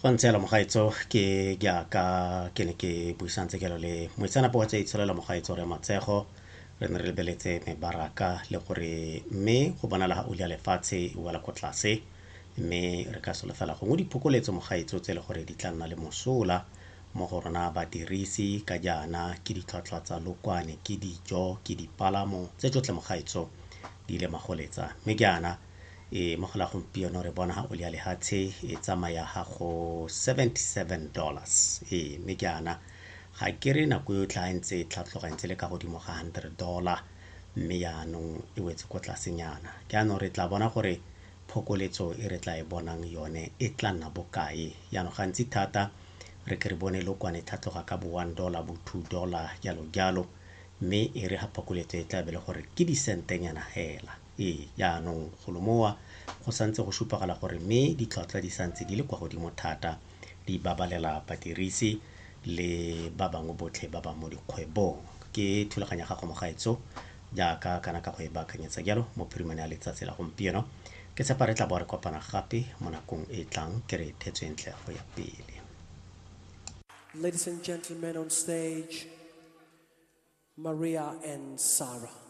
Go ntse jalo mogaetso, ke jaaka ke ne ke buisantse jalo le moitseanape wa tsa itsholelo mogaetso re Matshego, re ne re lebeletse mebaraka le gore mme go bonala ga oli ya lefatshe e wela ko tlase, mme re ka solofela gongwe diphokoletso mogaetso tse e le gore di tla nna le mosola mo go rona badirisi ka jaana ke ditlhwatlhwa tsa lokwane, ke dijo, ke dipalamo tse tsotlhe mogaetso di ile magoletsa. Mme jaana e mo go la gompieno re bona ga oli ya lehatshe e tsamaya ga go $77. Ee, mme jaana ga ke re nako yotlhe ga e ntse e tlhatlhoga e ntse le ka godimo ga $100, mme jaanong e wetse ko tlasenyana. Jaanong re tla bona gore phokoletso e re tla e bonang yone e tla nna bokae. Jaanong gantsi thata re ke re bone lokwane tlhatlhoga ka bo $1, bo $2 jalo jalo, mme e re ga phokoletso e tla be le gore ke disentenyana hela. Ee, jaanong golo mowa go santse go supagala gore mme ditlhwatlhwa di santse di le kwa godimo thata, di babalela badirisi le ba bangwe botlhe ba ba mo dikgwebong. Ke thulaganyo ya gago mogaetso jaaka kana ka go e baakanyetsa jalo mo phirimane ya letsatsi la gompieno. Ke tshepa re tla bo re kopana gape mo nakong e tlang, ke re thetswe ntle go ya pele. Ladies and gentlemen on stage, Maria and Sarah.